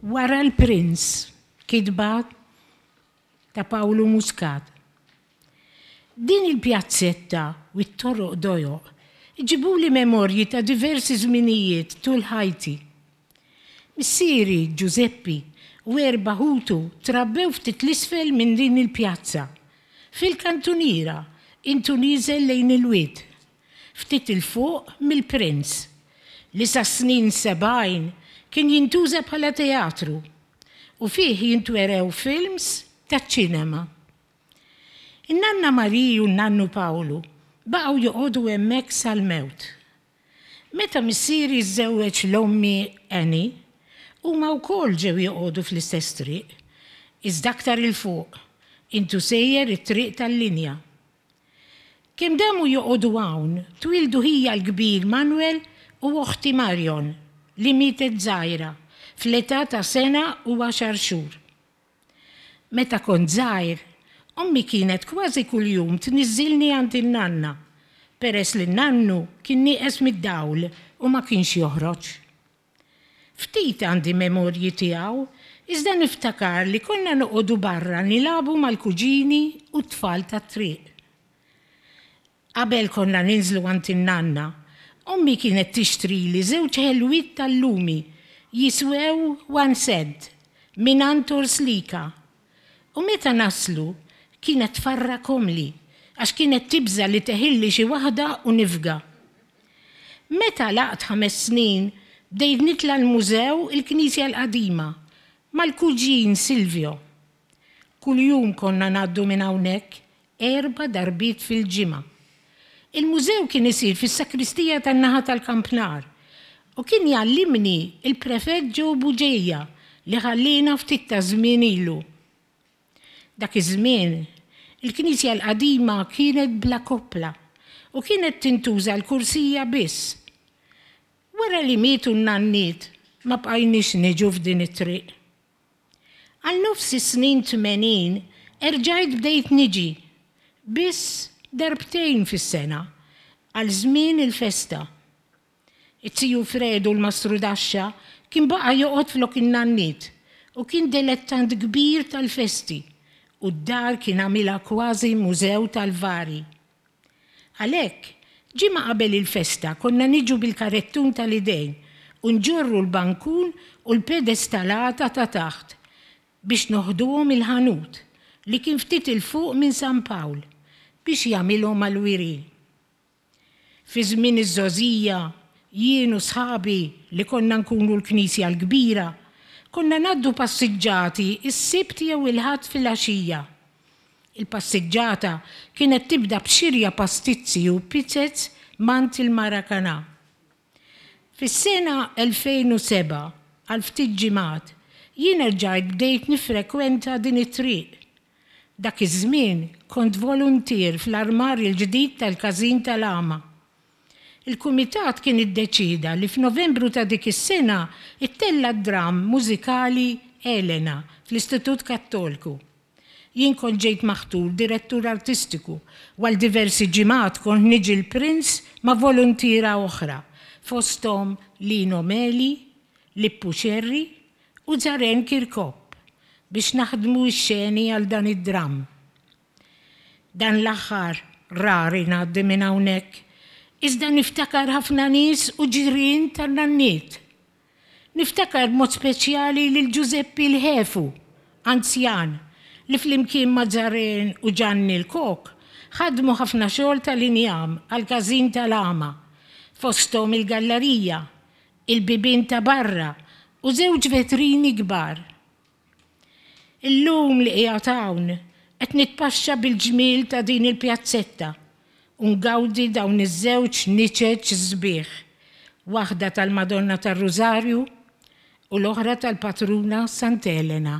Wara l-Prince, kitba ta' Pawlu Muscat. Din il-pjazzetta u t-toroq dojoq iġibuli memorji ta' diversi żminijiet tul ħajti. Missieri, Ġużeppi, u erba' ħutu trabbew ftit 'l isfel minn din il-pjazza, fil-kantuniera, intu nieżel lejn il-wied, ftit 'il fuq mill-Prince, li sas-snin 70 kien jintuża bħala teatru u fih jintwerew films taċ-ċinema. In-nanna Marie u n-nannu Pawlu baqgħu joqogħdu hemmhekk sal-mewt. Meta missieri żżewweġ 'l ommi Annie, huma wkoll ġew joqogħdu fl-istess triq, iżda aktar 'il fuq, intu sejjer it-triq tal-linja. Kemm damu joqogħdu hawn, twieldu ħija l-kbir Manuel u oħti Marion, li mietet żgħira, fl-età ta' sena u għaxar xhur. Meta kont żgħir, ommi kienet kważi kuljum tniżżilni għand in-nanna, peress li n-nannu kien nieqes mid-dawl u ma kienx joħroġ. Ftit għandi memorji tiegħu, iżda niftakar li konna noqogħdu barra nilagħbu mal-kuġini u t-tfal tat-triq. Qabel konna ninżlu għand in-nanna, ommi kienet tixtrili żewġ ħelwiet tal-lumi jiswew one cent mingħand Orslika. U meta naslu, kienet tfarrakhomli għax kienet tibża' li teħilli xi waħda u nifga. Meta għalaqt ħames snin, bdejt nitla' l-mużew il-Knisja l-Qadima mal-kuġin Silvio. Kuljum konna ngħaddu minn hawnhekk erba' darbiet fil-ġimgħa. Il-mużew kien isir fis-sakristija tan-naħa tal-Kampnar u kien jgħallimni l-Prefett Joe Bugeja li ħalliena ftit taż-żmien ilu. Dak iż-żmien, il-knisja l-qadima kienet bla koppla u kienet tintuża l-kursija biss. Wara li mietu n-nanniet ma bqajniex niġu f'din it-triq. Għal nofs is-snin 80 erġajt bdejt niġi, biss darbtejn fis-sena, għal żmien il-festa. Iz-ziju Fredu l-mastrudaxxa kien baqa' joqgħod flok in-nanniet u kien delettant kbir tal-festi u d-dar kien għamilha kważi mużew tal-vari. Għalhekk, ġimgħa qabel il-festa konna niġu bil-karettun tal-idejn u nġorru l-bankun u l-pedestalata ta' taħt biex noħduhom il-ħanut li kien ftit 'il fuq minn San Pawl biex jagħmilhom għall-wiri. Fi żmien iż-żgħożija, jien u sħabi li konna nkunu l-Knisja l-Kbira, konna ngħaddu passiġġati s-Sibt jew il-Ħadd filgħaxija. Il-passiġġata kienet tibda b'xirja pastizzi u pizzez m'għand il-Maracanã. Fis-sena 2007, għal ftit ġimgħat, jien erġajt bdejt niffrekwenta din it-triq. Dak iż-żmien kont voluntier fl-armar il-ġdid tal-Każin tal-Għama. Il-kumitat kien iddeċieda li f'Novembru ta' dik is-sena ttella' d-dramm mużikali Elena fl-Istitut Kattolku. Jien kont ġejt maħtur direttur artistiku u għal diversi ġimgħat kont niġi l-Prince ma' voluntiera oħra, fosthom Lino Meli, Lippu Scerri u Zaren Kirkop biex naħdmu x-xeni għal dan id-dramm. Dan l-aħħar rari ngħaddi minn hawnhekk, iżda niftakar ħafna nies u ġirien tan-nanniet. Niftakar b'mod speċjali lil Ġużeppi l-Ħefu, anzjan, li flimkien ma' Zaren u Ġanni l-Kok ħadmu ħafna xogħol tal-injam għall-każin tal-għama, fosthom il-gallarija, il-bibien ta' barra u żewġ vetrini kbar. Illum li qiegħed hawn qed nitpaxxa bil-ġmiel ta' din il-pjazzetta u ngawdi dawn iż-żewġ niċeċ sbieħ, waħda tal-Madonna tar-Rużarju u l-oħra tal-Patruna Sant'Elena.